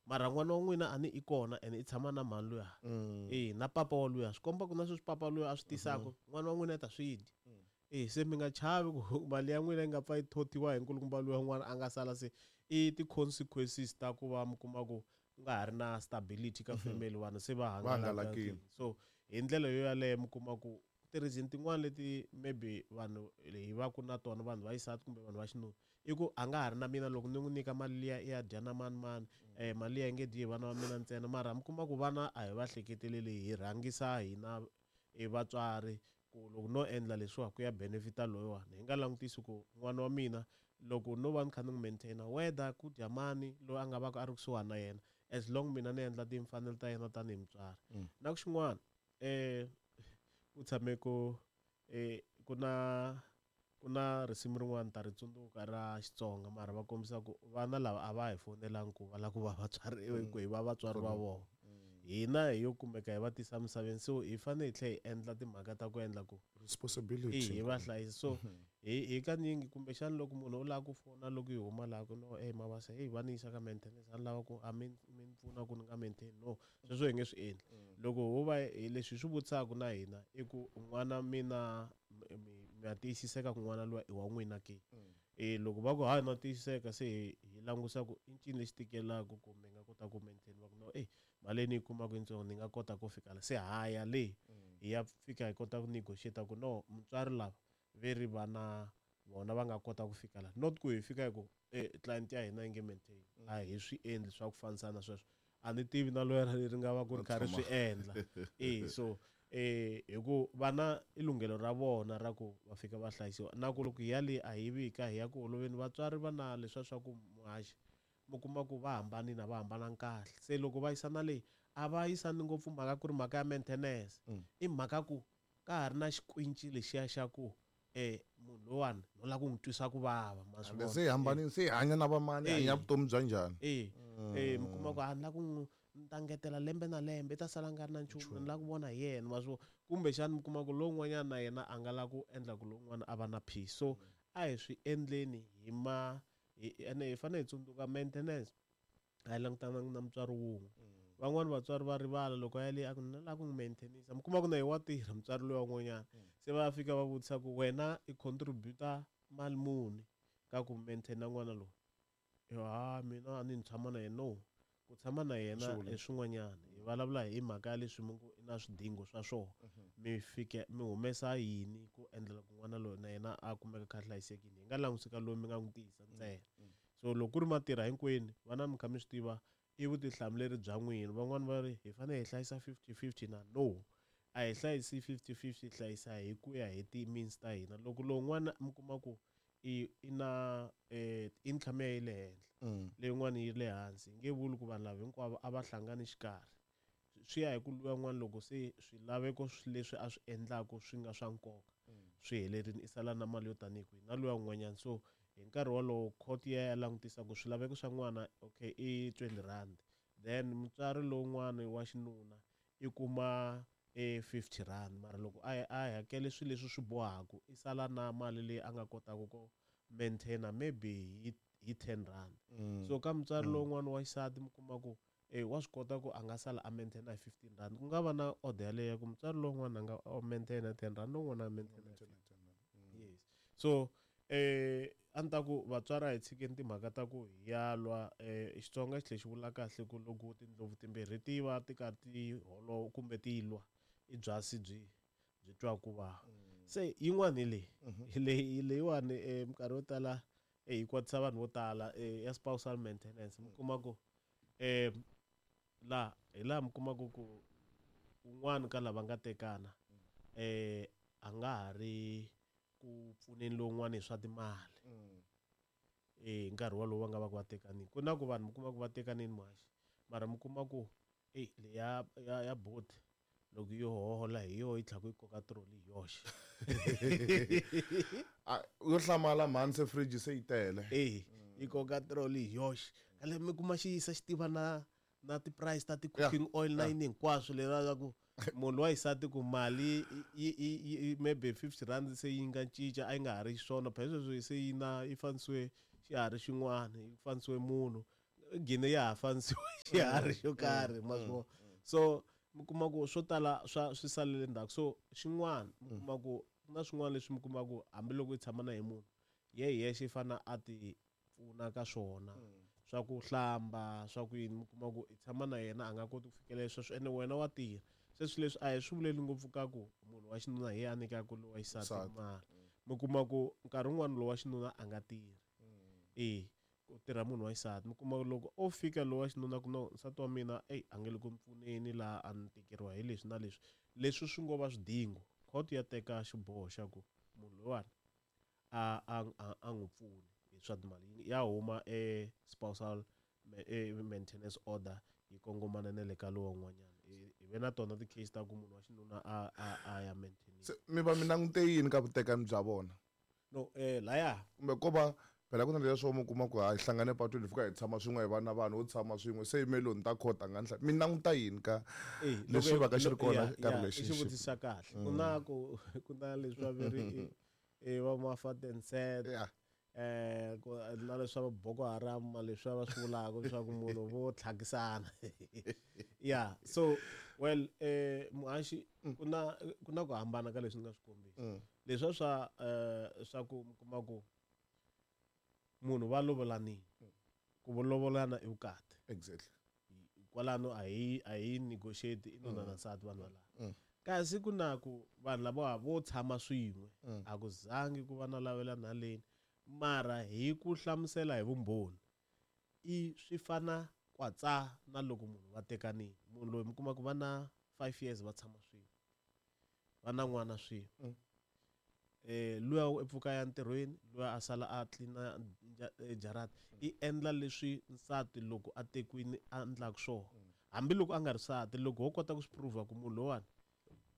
Mara n'wana wa n'wina a ni i kona ene i tshama na mhani luya. E na papa wa luya, swi komba ku na sweswi papa luya a swi tisaka, n'wana wa n'wina i ta swi dya. E se mi nga chavi ku mali ya n'wina yi nga pfa yi thotiwa hi nkulukumba luya n'wana a nga sala, se i ti-consequences ta ku va mi kuma ku ku nga ha ri na stability ka family, vanhu se va hangalakile. So hi ndlela yo yaleyo mi kuma ku ti-reason tin'wana leti maybe vanhu hi va ku na tona, vanhu va xisati kumbe vanhu va xinuna, i ku a nga ha ri na mina, loko ni n'wi nyika mali liya i ya dya na mani mani, mali liya yi nge dyi hi vana va mina ntsena. Mara mi kuma ku vana a hi va hleketeleli, hi rhangisa hina i vatswari ku loko no endla leswiwa ku ya benefita loyiwani, hi nga langutisi ku n'wana wa mina loko no va ni kha ni n'wi maintaina, whether ku dya mani loyi a nga va ku a ri kusuhani na yena, as long mina ni endla timfanelo ta yena tanihi mutswari. Na ku xin'wana, ku tshame ku ku na risimu rin'wana ta ri tsundzuka ra Xitsonga, mara va kombisa ku vana lava a va hi fonelangi ku va lava ku va vatswari, ku hi va vatswari va vona. Hina hi yo kumeka hi va tisa misaveni, so hi fanele hi tlhela hi endla timhaka ta ku endla ku responsibility hi va hlayisa. So hi kanyingi kumbexana loko munhu u lava ku fona loko hi huma laha ku no, mavasa, hey, va ni yisa ka maintenance, a ni lava ku a mi ni pfuna ku ni nga maintain, no, sweswo hi nge swi endli. Loko ho va hi leswi hi swi vutisaka na hina i ku n'wana mina mi ya tiyisiseka ku n'wana luya i wa n'wina ke? Loko va ku hayi na tiyisiseka, se hi langusa ku i ncini lexi tikelaka ku mi nga kota ku maintain, va ku no, mali leyi ni yi kumaka yitsongo, ni nga kota ku fika la, se haya le hi ya fika hi kota ku negotiate ku no, mutswari lava ve ri vana vona va nga kota ku fika la, not ku hi fika hi ku client ya hina yi nge maintain. A hi swi endli swa ku fanisana sweswo, a ni tivi na loyara leri nga va ku ri kha ri swi endla. So hi ku vana i lunghelo ra vona ra ku va fika va hlayisiwa, na ku loko hi ya le a hi vika hi ya ku holoveni, vatswari va na leswiya swa ku muhaxi mi kuma ku va hambanile, a va hambananga kahle, se loko va yisana leyi a va yisani ngopfu mhaka ku ri mhaka ya maintenance, i mhaka ku ka ha ri na xikwinci lexiya xa ku munhu lowani no lava ku n'wi twisa ku vava, ma swi vona. Se hambanile, se hanya na vamani, hanya vutomi bya njhani? Mi kuma ku a ni lava ku n'wi ni ta ngetela lembe na lembe, i ta sala nga ri na nchumu, ni lava ku vona hi yena, ma swi vona. Kumbexana mi kuma ku lowun'wanyana na yena a nga lava ku endla ku lowun'wana a va na peace. So a hi swi endleni hi ma ene hi fanele hi tsundzuka maintenance a yi langutananga na mutswari wun'we. Van'wani vatswari va rivala loko a ya le a ku ni lava ku n'wi maintainisa, mi kuma ku na hi wa tirha mutswari loyi wan'wanyana, se va fika va vutisa ku wena i contributor mali muni ka ku maintaina n'wana loyi? Ha mina a ni tshama na yena, no, ku tshama na yena i swin'wanyana, hi vulavula hi mhaka ya leswi mi ngo i na swidingo swa swona, mi fike mi humesa yini ku endlela ku n'wana loyi na yena a kumeka kha a hlayisekile, hi nga langusi ka loyi mi nga n'wi tisa ntsena. So loko ku ri matirha hinkwenu vana mi kha mi swi tiva i vutihlamuleri bya n'wina. Van'wani va ri hi fanele hi hlayisa 50-50 na no, a hi hlayisi 50-50, hlayisa hi ku ya hi ti-means ta hina. Loko lowun'wana mi kuma ku i na income ya yi le henhla, leyin'wana yi le hansi, hi nge vuli ku vanhu lava hinkwavo a va hlangani xikarhi, swi ya hi ku luya n'wana loko se swilaveko leswi a swi endlaka swi nga swa nkoka swi helerile, i sala na mali yo tanihi kwihi na luya un'wanyana. So hi nkarhi wolowo court ya ya langutisa ku swilaveko swa n'wana okay i 20 rand, then mutswari lowun'wana wa xinuna i kuma 50 rand, mara loko a hakele swilo leswi swi bohaka i sala na mali leyi a nga kotaka ku maintaina maybe hi 10 rand. So ka mutswari lowun'wana wa xisati mi kuma ku wa swi kota ku a nga sala a maintaina hi 15 rand, ku nga va na order yaleyo ku mutswari lowun'wana a nga maintaina 10 rand, lowun'wana a maintaina 10. Yes. So a ni ta ku vatswari a hi tshikeni timhaka ta ku hi ya lwa. Xitsonga xi tlhela xi vula kahle ku loko tindlopfu timbirhi ti va ti karhi ti holova kumbe ti lwa, i byasi byi twa ku vava. Se yin'wana hi leyi, leyi leyiwani minkarhi yo tala yi kwatisa vanhu vo tala ya spousal maintenance. Mi kuma ku laha hi laha mi kumaka ku un'wana ka lava nga tekana a nga ha ri ku pfuneni lowun'wana hi swa timali hi nkarhi wolowo va nga va ku va tekanini. Ku na ku vanhu mi kuma ku va tekanini muhaxi, mara mi kuma ku leya ya boti loko yo hola hi yo yi tlhela yi koka trolley hi yoxe. Yo hlamala mhani, se fridge se yi tele. Yi koka trolley hi yoxe. Kale mi kuma xi yisa xi tiva na ti-price ta ti-cooking oil na yini hinkwaswo leriya ku munhu wa xisati ku mali yi maybe 50 rand se yi nga cinca, a yi nga ha ri xiswona phela sweswi se yi na yi fanisiwe xiharhi xin'wana, yi fanisiwe munhu. gine ya ha fanisiwa xiharhi xo karhi, ma swi vona. So mi kuma ku swo tala swa swi salele ndzhaku. So xin'wana mi kuma ku ku na swin'wana leswi mi kuma ku hambiloko i tshama na hi munhu ye hi yexe i fane a ti pfuna ka swona, swa ku hlamba, swa ku yini. Mi kuma ku i tshama na yena a nga koti ku fikelela sweswo, ene wena wa tirha. Se swilo leswi a hi swi vuleli ngopfu ka ku munhu wa xinuna hi yena a nyikaka lowa xisati mali. Mi kuma ku nkarhi wun'wani lowa xinuna a nga tirhi, e ku tirha munhu wa xisati. Mi kuma ku loko o fika lowa xinuna ku no nsati wa mina eyi a nge le ku ni pfuneni laha, a ni tikeriwa hi leswi na leswi, leswi swi ngo va swidingo, court ya teka xiboho xa ku munhu loyiwani a n'wi pfuni hi swa timali. Ya huma e spousal maintenance order yi kongomana na le ka lowa un'wanyana. Hi ve na tona ti-case ta ku munhu wa xinuna a ya maintain. Se mi va mi langute yini ka vutekani bya vona? No, laya kumbe ko va phela ku na leswo mi kuma ku ha hlangane patwini, hi fika hi tshama swin'we, hi va na vanhu vo tshama swin'we, se yimeloni ta court a nga ni mi languta yini ka leswi va ka xi ri kona ka relationship? I xivutiso xa kahle. Ku na ku ku na leswi va veri i va ma-fat and set, ku na leswi va Boko Haram, leswi va swi vulaka leswaku munhu vo tlhakisana. Yeah, so well, muhaxi, ku na ku hambana ka leswi ni nga swi kombisa. Leswiya swa ku mi kuma ku munhu va lovolanile, ku lovolana i vukati. Kwalano a hi negotiate, i nuna na nsati vanhu valava. Kasi ku na ku vanhu lavawa vo tshama swin'we, a ku zangi ku va na lavelana haleni, mara hi ku hlamusela hi vumbhoni i swi fana kwatsa na loko munhu va tekanile. Munhu loyi mi kuma ku va na 5 years va tshama swin'we, va na n'wana swin'we, luya u pfuka ya ntirhweni, luya a sala a tlina jarata, i endla leswi nsati loko a tekiwini a endlaka swona, hambiloko a nga ri nsati. Loko ho kota ku swi prove ku munhu lowani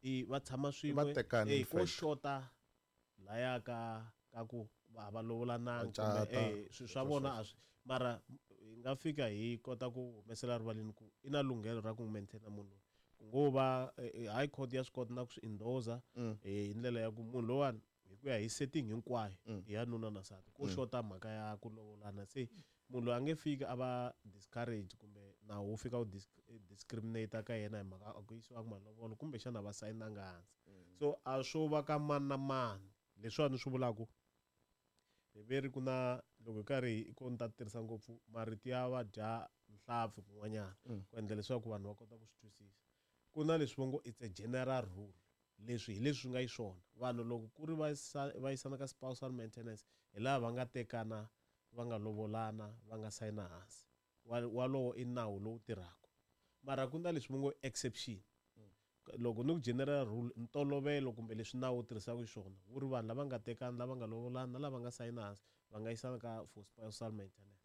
i va tshama swin'we, ko xota laya ka ku va va lovolananga kumbe swilo swa vona a swi, mara hi nga fika hi kota ku humesela rivaleni ku i na lunghelo ra ku n'wi maintain munhu loyi. Ku ngo va high court ya swi kota na ku swi endorsa hi ndlela ya ku munhu lowani hi ku ya hi setting hinkwayo ya nuna na nsati, ko xota mhaka ya ku lovolana. Se munhu loyi a nge fiki a va discourage kumbe nawu wu fika wu discriminate ka yena hi mhaka a ku yisiwanga malovolo kumbexana va sayinanga hansi. So a swo va ka mani na mani. Leswiwani swi vulaku hi veri ku na loko hi karhi ko ni ta tirhisa ngopfu marito ya va dya nhlampfi kun'wanyana ku endla leswaku vanhu va kota ku swi twisisa. Ku na leswi va ngo it's a general rule, leswi hi leswi swi nga xiswona. Vanhu loko ku ri va yisana ka spousal maintenance hi laha va nga tekana, va nga lovolana, va nga sayina hansi, walowo i nawu lowu tirhaka. Mara ku na leswi va ngo exception. Loko ni ku general rule, ntolovelo kumbe leswi nawu wu tirhisaka xiswona wu ri vanhu lava nga tekana, lava nga lovolana na lava nga sayina hansi va nga yisana ka for spousal maintenance.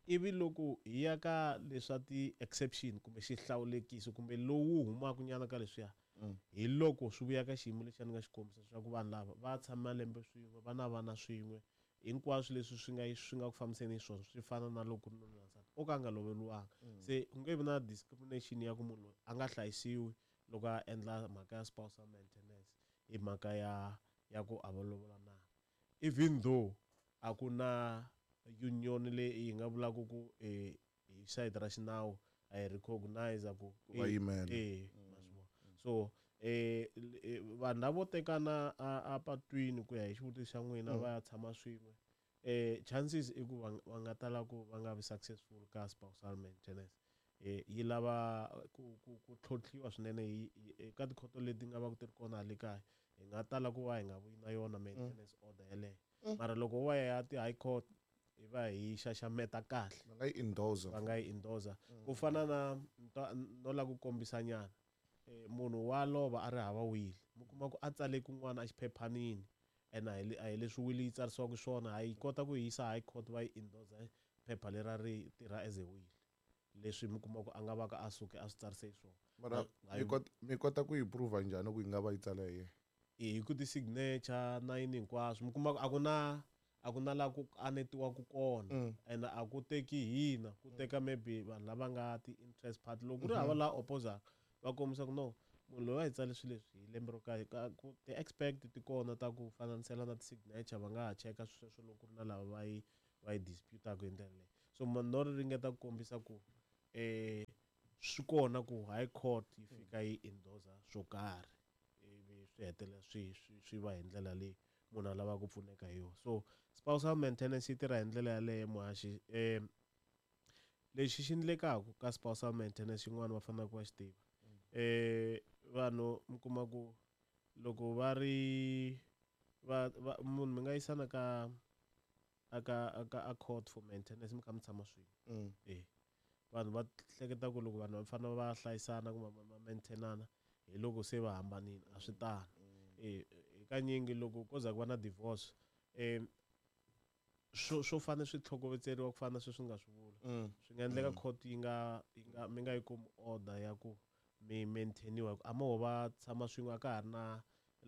Ivi loko hi ya ka leswa ti-exception kumbe xihlawulekiso kumbe lowu humaka nyana ka leswiya, hi loko swi vuya ka xiyimo lexi a ni nga xi kombisa leswaku vanhu lava va tshama malembe swin'we, va na vana swin'we, hinkwaswo leswi swi nga ku fambiseni swona swi fana na loko ku ri nuna na nsati o ka a nga loveriwanga. Se ku nge vi na discrimination ya ku munhu loyi a nga hlayisiwi loko a endla mhaka ya spousal maintenance hi mhaka ya ku a va lovolananga, even though a ku na union leyi hi nga vulaka ku hi sayiti ra xinawu a hi recognize ku Va yimela. Ma swi vona. So vanhu lavo tekana a patwini, ku ya hi xivutiso xa n'wina, va ya tshama swin'we, chances i ku va nga tala ku va nga vi successful ka spousal maintenance. Yi lava ku tlhontlhiwa swinene eka tikhoto leti nga va ku ti ri kona hale kaya. Hi nga tala ku va hi nga vuyi na yona maintenance order yeleyo, mara loko wa ya ti-high court hi va hi xaxameta kahle. Va nga yi endorsa. Va nga yi endorsa. Ku fana na no lava ku kombisa nyana, munhu wa lova a ri hava will, mi kuma ku a tsale kun'wana a xiphephanini, ene a hi leswi will yi tsarisiwaka swona. Ha yi kota ku yi yisa high court, va yi endorsa phepha lera ri tirha as a will, leswi mi kuma ku a nga va ka a suke a swi tsarise swona. Mara mi kota ku yi prove njhani ku yi nga va yi tsala hi yena? Hi ku ti-signature na yini hinkwaswo. Mi kuma ku a ku na laha ku anetiwaku kona, ene a ku teki hina, ku teka maybe vanhu lava nga ti-interest party. Loko ku ri hava laha opposaka, va kombisa ku no, munhu loyi a hi tsale swilo leswi hi lembe ro karhi, ku ti-expert ti kona ta ku fananisela na ti-signature, va nga ha cheka sweswo loko ku ri na lava va yi disputaka hi ndlela leyi. So no ri ringeta ku kombisa ku swi kona ku high court yi fika yi endorsa swo karhi, ivi swi hetelela swi va hi ndlela leyi munhu a lavaka ku pfuneka hi yona. So spousal maintenance yi tirha hi ndlela yaleyo, muhaxi. Lexi xi endlekaka ka spousal maintenance xin'wana va faneleke va xi tiva, vanhu mi kuma ku loko va ri va munhu mi nga yisana ka aka a court for maintenance mi kha mi tshama swin'we. Vanhu va hleketa ku loko vanhu va fanele va hlayisana kumbe va maintainana hi loko se va hambanile, a swi tano. Hakanyingi loko ko za ku va na divorce, swo fanele swi tlhokovetseriwa ku fana na sweswi nga swi vula. Swi nga endleka court yi nga mi nga yi kumi order ya ku mi maintainiwa, a mo va tshama swin'we a ka ha ri na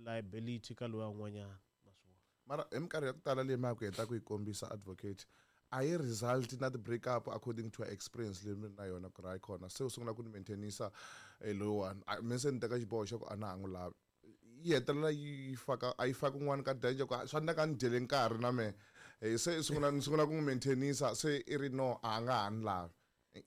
liability ka loyi un'wanyana. Mara hi minkarhi ya ku tala leyi ma ku heta ku yi kombisa advocate, a yi result na ti-break up according to her experience leyi mi na yona ku ri hayi khona se u sungula ku ni maintainisa loyiwani, mi se ni teka xiboho xa ku a na ha n'wi lavi, yi hetelela yi faka a yi faki un'wana ka danger ku swa endleka ni dyele nkarhi na mehe, se sungula ni sungula ku n'wi maintainisa se i ri no a nga ha ni lavi.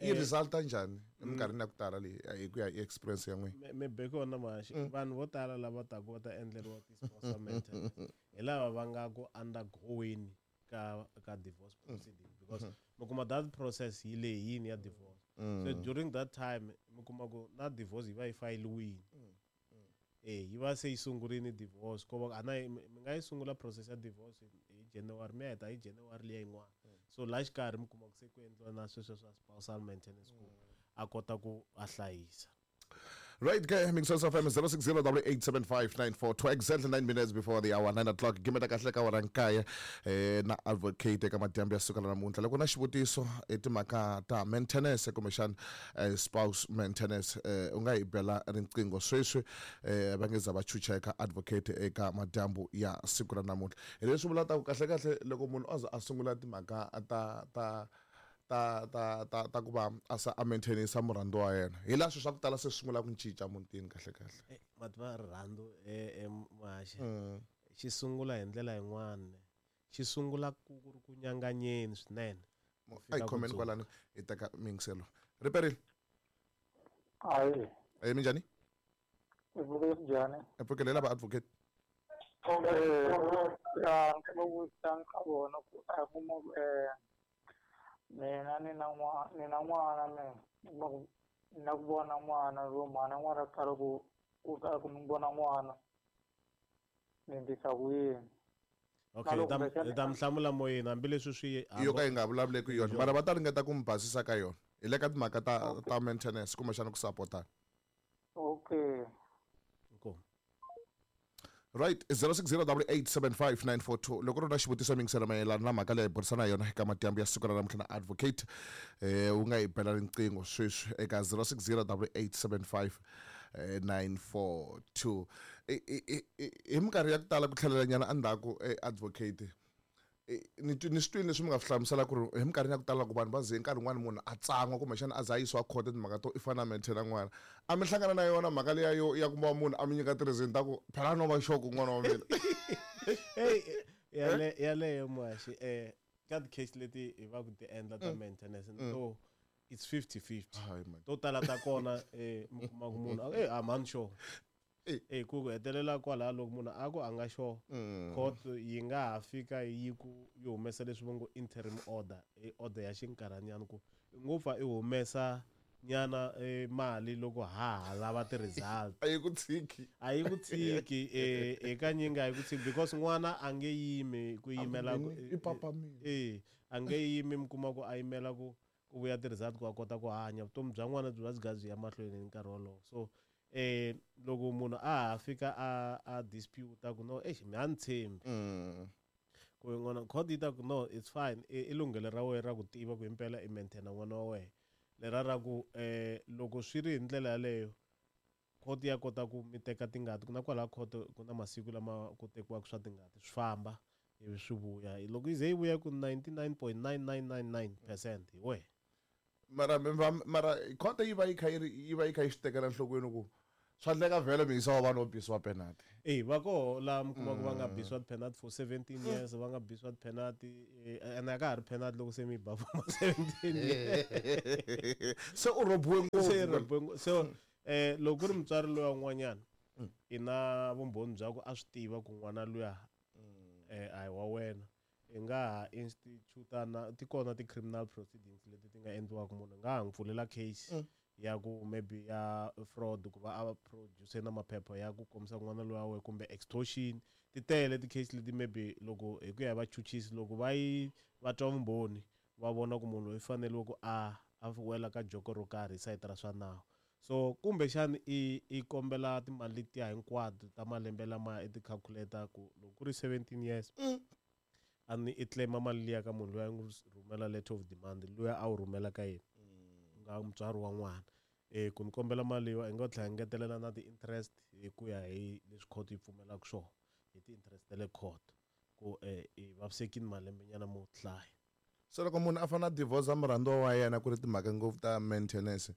I resulta njhani eminkarhini ya ku tala leyi hi ku ya hi experience ya n'wina? Mi be kona muhaxi, vanhu vo tala lava taka va ta endleriwa ti-spousal maintenance hi lava va nga ku undergoing ka divorce proceeding, because mi kuma that process yi lehini ya divorce. So during that time mi kuma ku na divorce yi va yi fayiliwile. Yi va se yi sungurile divorce, ko va a na mi nga yi sungula process ya divorce hi January, mi ya heta hi January liya yin'wana. So laha xikarhi mi kuma ku se ku endliwa na sweswo swa spousal maintenance ku a kota ku a hlayisa. Right, okay, Mixos FM 060 8875942, exactly 9 minutes before the hour 9 o'clock. Gimeta kahle ka wara nkaya na advocate eka madyambu ya suka la namuntlha. Loko na xivutiso hi timhaka ta maintenance kumbexana spouse maintenance, u nga hi bela riqingho sweswi, va nge za va chucha eka advocate eka madyambu ya siku ra namuntlha. Hi leswi vulaka ku kahle kahle loko munhu a za a sungula timhaka ta ta ta ta ta ta ku va a sa a maintainisa murhandzi wa yena, hi laha swilo swa ku tala se swi sungula ku cinca mutini kahle kahle. Mativa rirhandzu muhaxi xi sungula hi ndlela yin'wana, xi sungula ku ri ku nyanganyeni swinene. A hi khomeni kwalano hi teka miyingiselo. Riperile. Hayi. Minjhani? I pfukile njhani? I pfukile lava advocate. Ya ni kombela ku vutisa ka vona ku a kuma ku mina ni na n'wana, ni na n'wana mina ni na ku vona n'wana ro mhana n'wana kala ku ku kala ku ni vona n'wana ni endlisa ku yini? Okay, hi ta mi hlamula moyeni hambileswi swi yo ka yi nga vulavuleki yona, mara va ta ringeta ku mi basisa ka yona hi le ka timhaka ta maintenance kumbexana ku sapotana. Okay. Inkomu. Right, 060 8875942. Loko ri na xivutiso mingisela mayelana na mhaka leyi hi burisana yona eka madyambu ya siku ra namuntlha na advocate, u nga hi bela riqingho sweswi eka 060 887 942. Hi minkarhi ya ku tala ku tlhelela nyana endzhaku, advocate, ni ni swi twini leswi mi nga swi hlamusela ku ri hi minkarhini ya ku tala ku vanhu va ze nkarhi wun'wani munhu a tsan'wa kumbexana a za a yisiwa khoto timhaka to i fanele a maintaina n'wana, a mi hlangana na yona mhaka liya yo ya ku va munhu a mi nyika ti-reason ta ku phela no va xoko n'wana wa mina? Hey, yaleyo muhaxi, ka ti-case leti hi va ku ti endla ta maintenance to it's 50-50. Hayi man. To tala ta kona mi kuma ku munhu a mani sure. Ku hetelela kwalaho loko munhu a ku a nga sure, court yi nga ha fika yi ku yi humesa leswi va ngo interim order, i order ya xinkarhanyana ku ngo pfa i humesa nyana mali loko ha lava ti-result. A yi ku tshiki. A yi ku tshiki, hakanyingi a yi ku tshiki because n'wana a nge yimi ku yimela ku I papa mina. A nge yimi, mi kuma ku a yimela ku vuya ti-result ku a kota ku hanya vutomi bya n'wana byi va byi byi ya mahlweni hi nkarhi wolowo. So loko munhu a ha fika a dispute ku no, eish, mi a ni tshembi ku n'wana, court yi ta ku no, it's fine, i lunghelo ra wena ra ku tiva ku himpela i maintaina n'wana wa wena lera ra ku loko swi ri hi ndlela yaleyo court ya kota ku mi teka tingati ku na kwalaho court ku na masiku lama ku tekiwaka swa tingati swi famba ivi swi vuya, loko yi ze yi vuya ku 99.9999% hi wena. Mara mara court yi va yi kha yi ri yi va yi kha yi swi tekela enhlokweni ku Swa endleka vhele mi yisa wa vanhu vo bisiwa penalty. E va koho laha mi kuma ku va nga bisiwa ti-penalty for 17 years, va nga bisiwa ti-penalty, ene a ka ha ri penalty loko se mi yi ba for ma 17 years. Se u rhobiwe Se ngopfu. So loko ku ri mutswari loyi un'wanyana i na vumbhoni bya ku a swi tiva ku n'wana luya a hi wa wena, i nga ha institute na ti kona ti-criminal proceedings leti ti nga endliwaka, munhu nga ha n'wi pfulela case ya ku maybe ya fraud, ku va a produce na maphepha ya ku kombisa n'wana loyi wa wena, kumbe extortion. Ti tele ti-case leti maybe loko hi ku ya hi vachuchisi, loko va yi va twa vumbhoni va vona ku munhu loyi fanele ku a wela ka joko ro karhi hi sayiti ra swa nawu. So kumbexani i kombela timali letiya hinkwato ta malembe lama i ti-calculator ku loko ku ri 17 years a ni i claim mali liya ka munhu loyi a n'wi rhumela letter of demand, loyi a wu rhumela ka yena nga mutswari wa n'wana, ku ni kombela mali leyiwa i nga tlhela ngetelela na ti-interest hi ku ya hi leswi court yi pfumelaka swona, hi ti-interest ta le court, ku i vavisekini malembenyana mo hlaya. Se loko munhu a fanele a divorce murhandziwa wa yena ku ri timhaka ngopfu ta maintenance,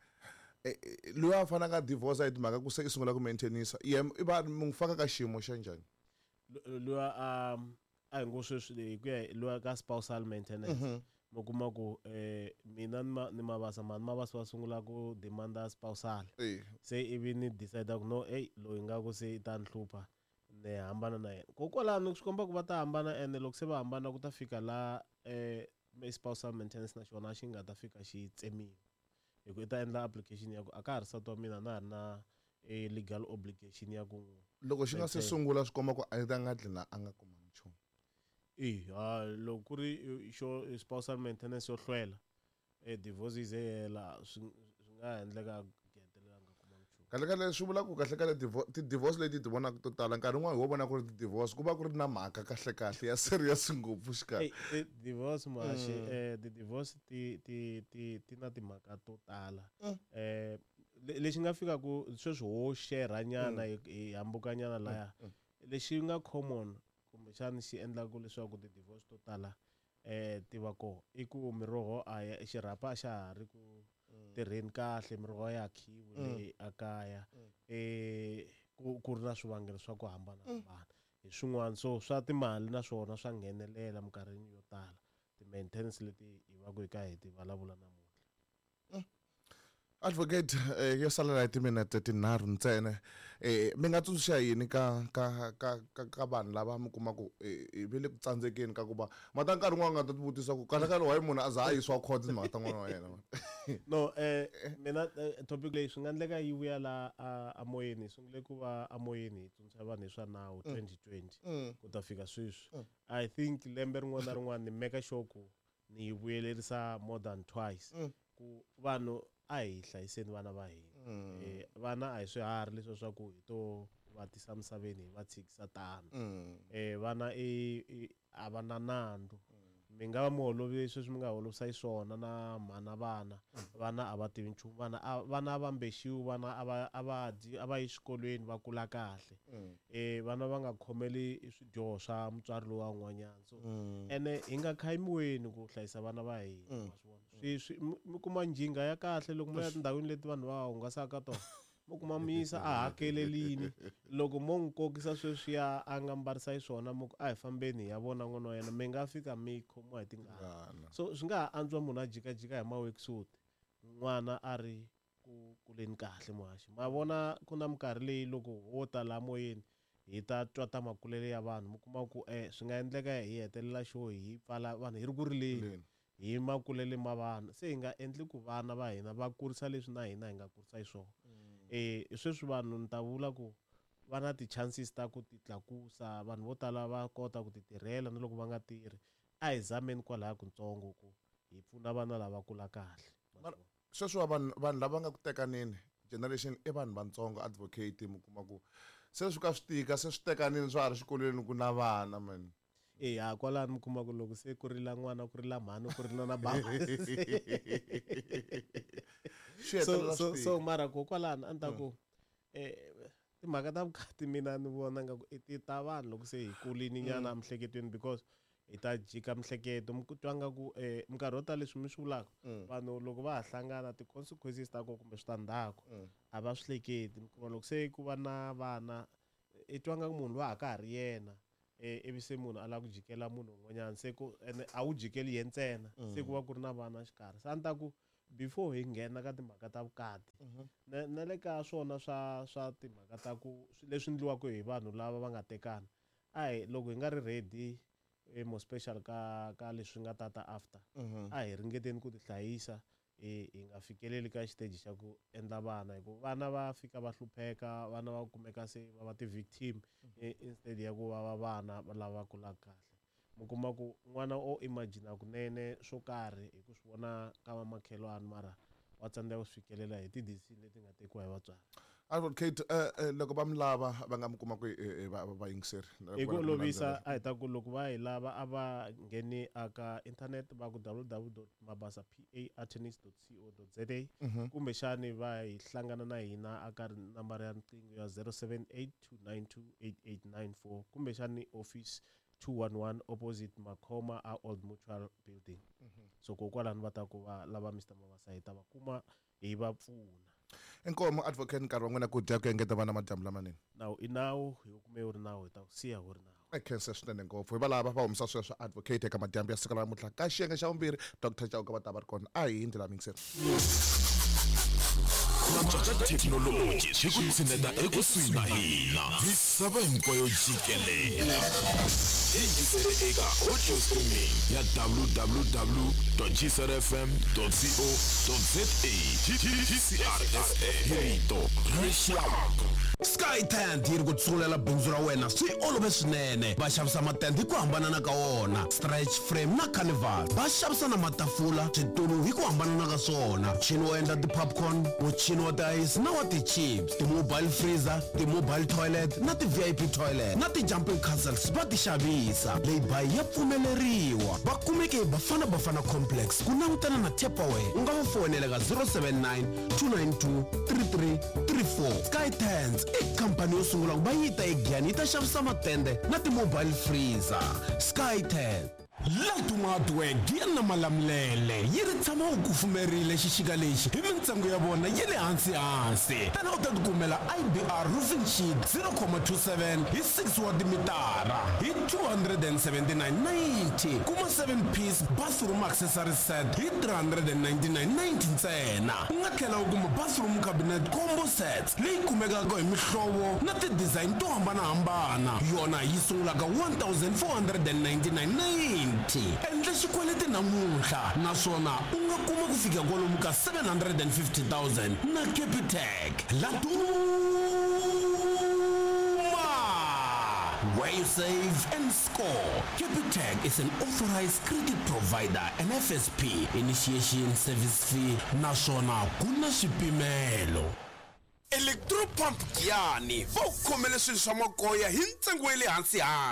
loyi a faneleke a divorce hi timhaka ku se i sungula ku maintainisa, yena i va mi n'wi faka ka xiyimo xa njhani? Loyi a hi ngo sweswi hi ku ya loyi ka spousal maintenance, mi kuma ku mina ni Mabasa, mhani Mabasa va sungula ku demanda spousal, se ivi ni decide ku no, ey loyi nga ku se i ta ni hlupha, ni hambana na yena. Kokwalano swi komba ku va ta hambana, ene loko se va hambana ku ta fika la spousal maintenance na xona xi nga ta fika xi tsemiwa, hi ku i ta endla application ya ku a ka ha ri nsati wa mina, na ha ri na legal obligation ya ku loko xi nga se sungula swi komba ku a ta nga dlina a nga kumanga nchumu. Loko ku ri xo spousal maintenance yo hlwela, divorce yi ze hela, swi nga endleka hetelela nga kumanga nchumu. Kahle kahle swi vula ku kahle kahle ti-divorce leti ti vonaka to tala nkarhi wun'wani ho vona ku ri ti-divorce ku va ku ri na mhaka kahle kahle ya serious ngopfu xikarhi. Ti-divorce muhaxi, ti-divorce ti na timhaka to tala. Lexi nga fika ku sweswi ho share nyana hi hambukanyana laya, lexi nga common kumbexani xi endlaka leswaku ti-divorce to tala ti va kona i ku miroho a ya xirhapa a xa ha ri ku tirheni kahle, miroho ya khiwi leyi a kaya, ku ri na swivangelo swa ku hambanahambana hi swin'wana. So swa timali na swona swa nghenelela minkarhini yo tala, ti-maintenance leti hi va ku hi ka hi ti vulavula namuntlha. Advocate, yo salela hi timinete tinharhu ntsena, mi nga tsundzuxa yini ka ka ka ka ka vanhu lava mi kuma ku ve le ku tsandzekeni ka ku va mata nkarhi wun'wana nga ta tivutisa ku kahle kahle why munhu a za a yisiwa court timhaka ta n'wana wa yena? No, mina topic leyi swi nga endleka yi vuya la a moyeni, hi sungule ku va a moyeni hi tsundzuxa vanhu hi swa nawu 2020 ku ta fika sweswi. I think lembe rin'wana na rin'wana ni make sure ku ni yi vuyelerisa more than twice ku vanhu a hi hlayiseni vana va hina. Vana a hi swiharhi leswi swa ku hi to va tisa misaveni hi va tshikisa tano. Vana a va na nandzu. Mi nga va mi holovile sweswi mi nga holovisa xiswona na mhana vana. Vana a va tivi nchumu, vana va mbexiwi, vana a va dyi, a va yi xikolweni va kula kahle. Vana va nga khomeli swidyoho swa mutswari lowa un'wanyana. So ene hi nga khayimiweni ku hlayisa vana va hina, wa swi vona. Mi kuma njhinga ya kahle loko mi ya tindhawini leti vanhu va hungasaka ka tona, mi kuma mi yisa a hakelelini. Loko mo n'wi kokisa sweswiya a nga mbarisa xiswona, mi ku a hi fambeni hi ya vona n'wana wa yena, mi nga fika mi khomiwa hi tingana. So swi nga ha antswa munhu a jikajika hi ma-worksuit, n'wana a ri ku kuleni kahle muhaxi. Ma vona ku na minkarhi leyi loko ho ta laha moyeni hi ta twa ta makulele ya vanhu, mi kuma ku swi nga endleka hi hetelela xo hi pfala vanhu hi ri ku rileni hi makulele ma vana. Se hi nga endli ku vana va hina va kurisa leswi na hina hi nga kurisa xiswona. Sweswi vanhu ni ta vula ku va na ti-chances ta ku ti tlakusa, vanhu vo tala va kota ku ti tirhela na loko va nga tirhi. A hi zameni kwalaya kutsongo ku hi pfuna vana lava kula kahle. Sweswi vanhu lava nga ku tekaneni generation i vanhu vantsongo advocate, mi kuma ku se swi ka swi tika, se swi tekanini swa ha ri xikolweni ku na vana man. Ha kwalano mi kuma ku loko se ku rila n'wana, ku rila mhani, ku rila na bava. So mara kokwalano a ni ta ku timhaka ta vukati mina ni vona nga ku i ti ta vanhu loko se hi kulini nyana emiehleketweni, because Hi ta jika mihleketo mi ku twa nga ku minkarhi yo tala leswi mi swi vulaka vanhu loko va ha hlangana ti-consequences ta kona kumbe switandzhaku a va swi hleketi. Mi kuma loko se ku va na vana i twa nga ku munhu loyi a ka ha ri yena ivi se munhu a lava ku jikela munhu un'wanyana se ku ene a wu jikeli ye ntsena se ku va ku ri na vana xikarhi. Se a ni ta ku before hi nghena ka timhaka ta vukati na le ka swona swa timhaka ta ku leswi endliwaka hi vanhu lava va nga tekana a hi loko hi nga ri ready more special ka leswi nga tata after a hi ringeteni ku tihlayisa hi nga fikeleli ka xiteji xa ku endla vana hi ku vana va fika va hlupheka vana va kumeka se va va ti-victim instead ya ku va va vana lava kulaka kahle. Mi kuma ku n'wana o imagine kunene swo karhi hi ku swi vona ka vamakhelwani mara wa tsandzeka ku swi fikelela hi ti-decision leti nga tekiwa hi vatswari. Advocate loko va mi lava va nga mi kuma ku vayingiseri hi ku olovisa a hi ta ku loko va hi lava a va ngheni aka internet va ku www.mabasa.pa.attorneys.co.za kumbexani va hi hlangana na hina aka nambara ya riqingho ya 078 292 8894 kumbexani office 211 opposite Makhoma a Old Mutual Building. So kokwalano va ta ku va lava Mr Mabasa hi ta va kuma hi va pfuna. Inkomo advocate, nkarhi wa n'wina ku dya ku engeta vana madyambu lamanene. Nawu i nawu, hi wu kume wu ri nawu, hi ta ku siya wu ri nawu. Khensa swinene ngopfu. Hi valava va humesa sweswo advocate eka madyambu ya siku ra namuntlha. Ka xiyenge xa vumbirhi Dr Chauke va ta va ri kona. A hi hindzi la mingiseri. Antswa ka thekinoloji swi ku tshineta ekusuhi na hina misava hinkwayo jikelele. Yingisele eka audio streaming ya www gcrfm co za. GCR FM, rito ra rixaka. Sky Tent yi ri ku tsungulela bindzu ra wena swi olove swinene. Va xavisa matende hi ku hambanana ka wona, stretch frame na carnival. Va xavisa na matafula, switulu hi ku hambanana ka swona, muchini wo endla ti-popcorn, muchini wa ti-ice na wa ti-chips, ti-mobile freezer, ti-mobile toilet na ti-VIP toilet na ti-jumping castles va ti xavisa. Lay-by ya pfumeleriwa. Va kumeke hi Bafana Bafana Complex ku langutana na Tupperware. U nga va foyinela ka 079 292 3334. Sky Tents i khampani yo sungula ku va yi ta eGiyani yi ta xavisa matende na ti-mobile freezer. Sky Tent. Laduma Hardware Giya na Malamulele yi ri tshama wu kufumerile xixika lexi hi mintsengo ya vona ya le hansi hansi. Tana u ta tikumela IBR roofing sheet 0,27 hi 6 wa timitara hi 279.90. Kuma 7 piece bathroom accessory set hi 399.90 ntsena. U nga tlhela u kuma bathroom cabinet combo sets leyi kumekaka hi mihlovo na ti-design to hambanahambana, yona yi sungulaka 1499.90. Endla xikweleti namuntlha naswona u nga kuma ku fika kwalomu ka 750 000 na Capitec. Laduma, where you save and score. Capitec is an authorized credit provider and FSP initiation service fee naswona ku na swipimelo. Electropump Giyani va ku khomele swilo swa makoya hi ntsengo wa le hansi hansi.